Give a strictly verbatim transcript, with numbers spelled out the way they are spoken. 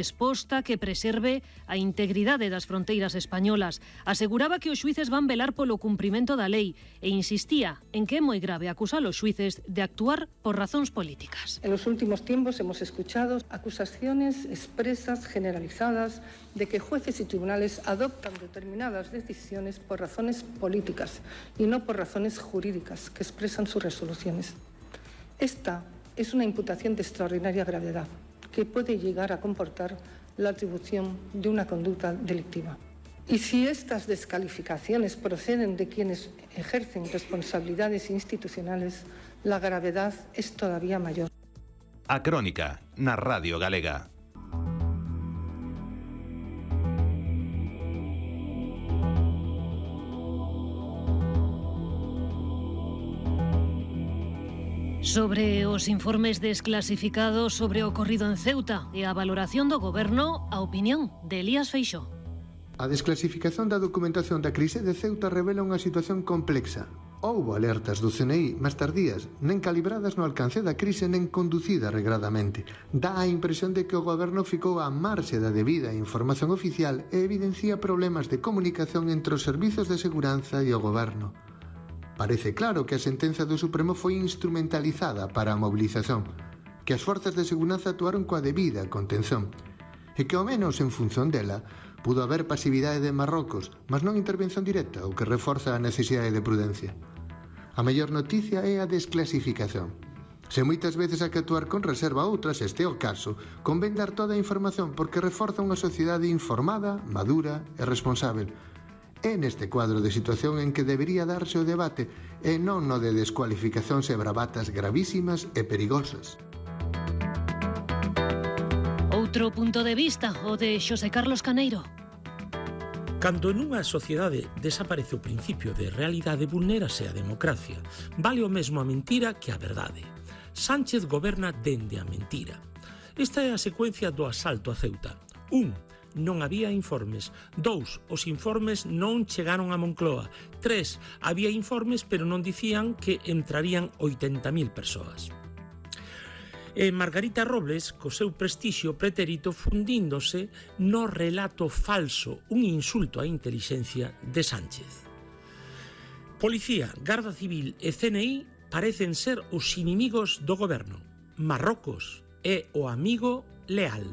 Resposta que preserve a integridade das fronteiras españolas. Aseguraba que os xuíces van velar polo cumprimento da lei e insistía en que é moi grave acusar aos xuíces de actuar por razóns políticas. En los últimos tiempos hemos escuchado acusaciones expresas, generalizadas, de que jueces y tribunales adoptan determinadas decisiones por razones políticas y no por razones jurídicas que expresan sus resoluciones. Esta es una imputación de extraordinaria gravedad, que puede llegar a comportar la atribución de una conducta delictiva. Y si estas descalificaciones proceden de quienes ejercen responsabilidades institucionales, la gravedad es todavía mayor. A Crónica, na Radio Galega. Sobre os informes desclasificados sobre o ocorrido en Ceuta e a valoración do Goberno, a opinión de Elías Feixóo. A desclasificación da documentación da crise de Ceuta revela unha situación complexa. Houbo alertas do C N I, mas tardías, nen calibradas no alcance da crise nen conducida regradamente. Dá a impresión de que o Goberno ficou á marxe da debida información oficial e evidencia problemas de comunicación entre os servizos de seguranza e o Goberno. Parece claro que a sentenza do Supremo foi instrumentalizada para a mobilización, que as forzas de seguranza actuaron coa debida contención, e que ao menos en función dela pudo haber pasividade de Marrocos, mas non intervención directa, o que reforza a necesidade de prudencia. A mellor noticia é a desclasificación. Se moitas veces hai que actuar con reserva, outras, este é o caso, convén dar toda a información porque reforza unha sociedade informada, madura e responsável. É neste cuadro de situación en que debería darse o debate e non no de descualificacións e bravatas gravísimas e perigosas. Outro punto de vista, o de Xosé Carlos Caneiro. Cando nunha sociedade desaparece o principio de realidade, vulnérase a democracia. Vale o mesmo a mentira que a verdade. Sánchez goberna dende a mentira. Esta é a secuencia do asalto a Ceuta. Un, non había informes. Dous, os informes non chegaron a Moncloa. Tres, había informes pero non dicían que entrarían oitenta mil persoas. E Margarita Robles, co seu prestixio pretérito, fundíndose no relato falso, un insulto á intelixencia de Sánchez. Policía, Garda Civil e C N I parecen ser os inimigos do goberno. Marrocos é o amigo leal.